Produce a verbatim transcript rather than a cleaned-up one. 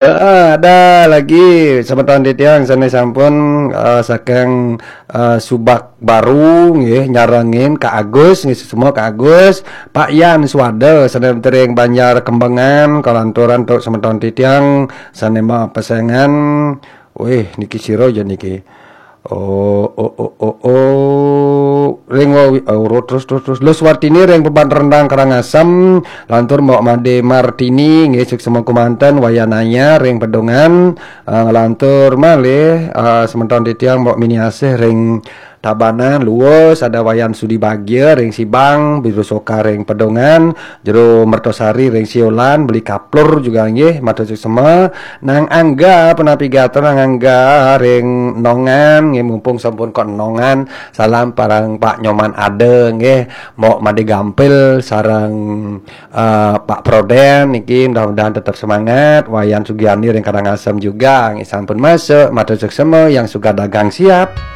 Heeh, ada lagi semeton titiang sane sampun, eh, saking, eh, Subak Baru nggih, nyarengin Kak Agus nggih, semua Kak Agus, Pak Yan Swada sane tering Banjar Kembangan, kalanturan tuk semeton titiang sane mapesengan. Wih, niki sira ya niki. Oh, oh, oh, oh, oh. Ring wawi, oh, terus, terus, terus. Lus Wartini ring Beban Rendang Karangasem, lantur Mbok Made Martini, nggih, suksema kumanten, Wayan Aya ring Pedungan, eh, lantur malih, eh, semeton titiang Mbok Mini Asih ring Tabanan, Luwus, ada Wayan Sudi Bagia ring Sibang, Biru Soka ring Pedungan, Jero Mertosari ring Siolan, Beli Kaplur juga nggih, matur suksema. Nang Angga, punapi gatra Nang Angga ring Nongan, nggih, mumpung sampun kok Nongan, salam parang Pak Nyoman Ada nggih, Mbok Made Gampil sareng, eh, Pak Proden niki mudah-mudahan tetap semangat. Wayan Sugiani ring Karangasem juga nggih sampun masuk, matur suksema, Yang Suka Dagang siap.